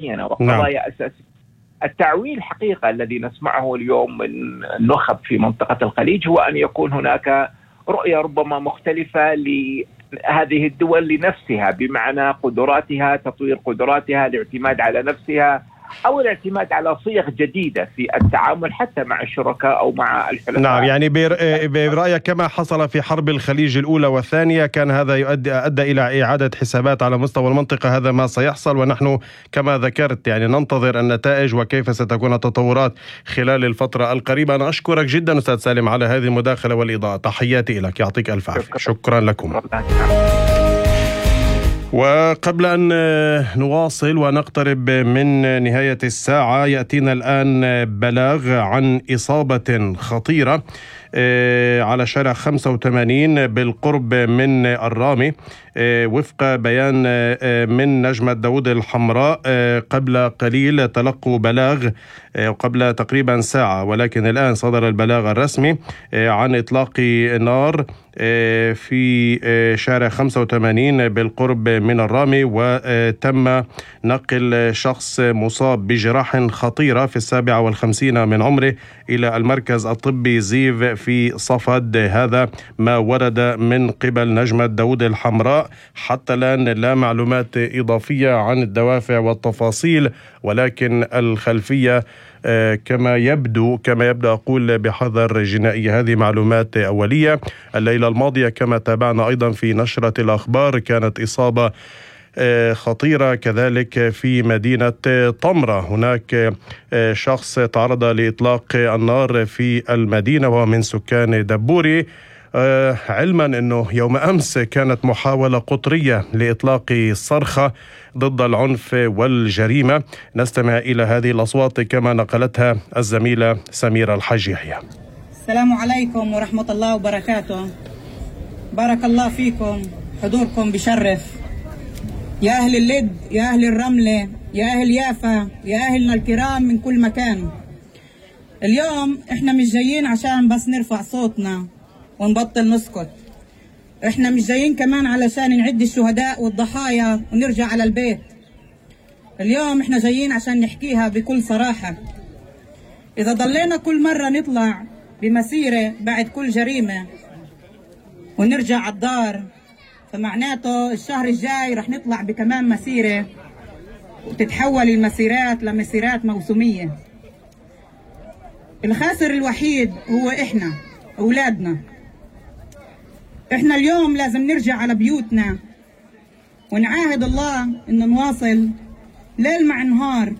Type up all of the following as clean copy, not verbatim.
وقضايا أساسية. التعويل حقيقة الذي نسمعه اليوم من النخب في منطقة الخليج هو أن يكون هناك رؤية ربما مختلفة لهذه الدول لنفسها، بمعنى قدراتها، تطوير قدراتها، الاعتماد على نفسها، أو الاعتماد على صيغ جديدة في التعامل حتى مع الشركاء أو مع الحلفاء. نعم، يعني برأيك كما حصل في حرب الخليج الأولى والثانية كان هذا أدى إلى إعادة حسابات على مستوى المنطقة. هذا ما سيحصل، ونحن كما ذكرت يعني ننتظر النتائج وكيف ستكون التطورات خلال الفترة القريبة. أنا أشكرك جدا أستاذ سالم على هذه المداخلة والإضاءة. تحياتي لك، يعطيك ألف عافية. شكرا لكم. وقبل أن نواصل ونقترب من نهاية الساعة، يأتينا الآن بلاغ عن إصابة خطيرة على شارع 85 بالقرب من الرامي. وفق بيان من نجمة داود الحمراء قبل قليل تلقوا بلاغ قبل تقريبا ساعة، ولكن الآن صدر البلاغ الرسمي عن إطلاق نار في شارع 85 بالقرب من الرامي، وتم نقل شخص مصاب بجراح خطيرة في 57 من عمره إلى المركز الطبي زيف في صفد. هذا ما ورد من قبل نجمة داود الحمراء. حتى الآن لا معلومات إضافية عن الدوافع والتفاصيل، ولكن الخلفية كما يبدو أقول بحذر جنائي. هذه معلومات أولية. الليلة الماضية كما تابعنا أيضا في نشرة الأخبار كانت إصابة خطيرة كذلك في مدينة طمرة. هناك شخص تعرض لإطلاق النار في المدينة وهو من سكان دبوري، علما أنه يوم أمس كانت محاولة قطرية لإطلاق صرخة ضد العنف والجريمة. نستمع إلى هذه الأصوات كما نقلتها الزميلة سميرة الحاج يحيى. السلام عليكم ورحمة الله وبركاته. بارك الله فيكم، حضوركم بشرف. يا أهل اللد، يا أهل الرملة، يا أهل يافا، يا أهلنا الكرام من كل مكان. اليوم احنا مش جايين عشان بس نرفع صوتنا ونبطل نسكت. احنا مش جايين كمان علشان نعد الشهداء والضحايا ونرجع على البيت. اليوم احنا جايين عشان نحكيها بكل صراحة. اذا ضلينا كل مرة نطلع بمسيرة بعد كل جريمة ونرجع على الدار، فمعناته الشهر الجاي رح نطلع بكمان مسيرة وتتحول المسيرات لمسيرات موسمية. الخاسر الوحيد هو احنا أولادنا. احنا اليوم لازم نرجع على بيوتنا ونعاهد الله إنه نواصل ليل مع نهار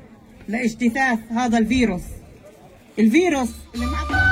لاجتثاث هذا الفيروس اللي